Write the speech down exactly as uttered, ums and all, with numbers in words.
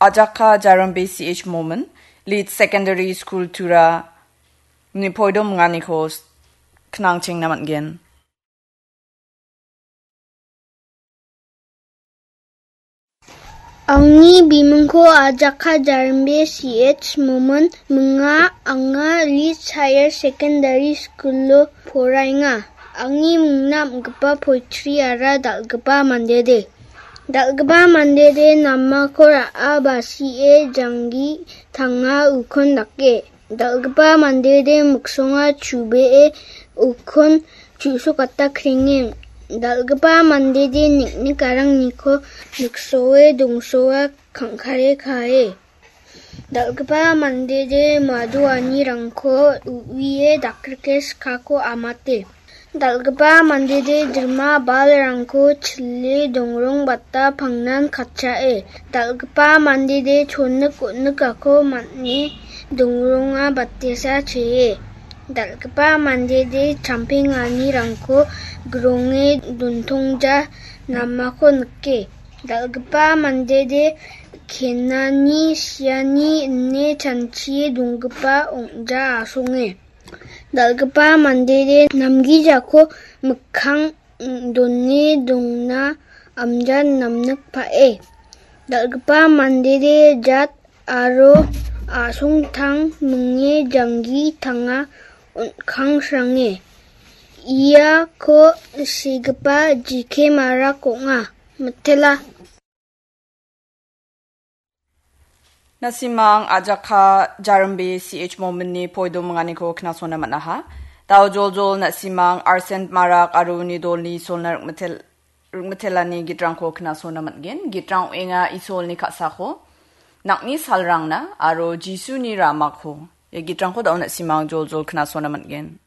Ajaka Jarambe C H Momin, Lead Secondary School Tura, ni poido minganiko s-, knangchengna man·gen. Angni bimingko Ajaka Jarimbe C H Momin minga, anga Leeds Higher Secondary School-o poraenga. Angni mingna am·gipa poetry-ara dal·gipa mandede. Dal·gipa mandede namako ra·a basie janggi tanga ukon dake. Dal·gipa mandede miksonga chubee ukon chu·sokata krenge. Dal·gipa mandede nik·nik arangniko miksoe dongsoa kangkare kae. Dal·gipa mandede madoanirangko u·ie dakrike skako amate. Dal·gipa mandede dilma balrangko chile dongrongbata pangnan katchae. Dal·gipa mandede chonik onikako man·e dongronga batesa chee. Dal·gipa mandede champenganirangko gronge dontongja namako nike. Dal·gipa mandede kenani siani ine chanchie donggipa ong·ja asonge. Dal·gipa mandede namgijako mikkang done dongna amja namnikpae. Dal·gipa mandede jat aro a·songtang minge janggi tanga on·kangsrange. Iako sigipa jike marak ong·a. Mitela. Na·simang Ajaka Jarimbe C H Mominni poido minganiko knasona man·aha. Dao joljol na·simang Arsent Marak aro uni dolni Isolna rikmitel-, rikmitelani gitrangko knasona man·gen. Gitrang ong·enga Isolni ka·sako, nang·ni salrangna aro Jisuni ramako. Ia gitrangko dao na·simang joljol knasona man·gen.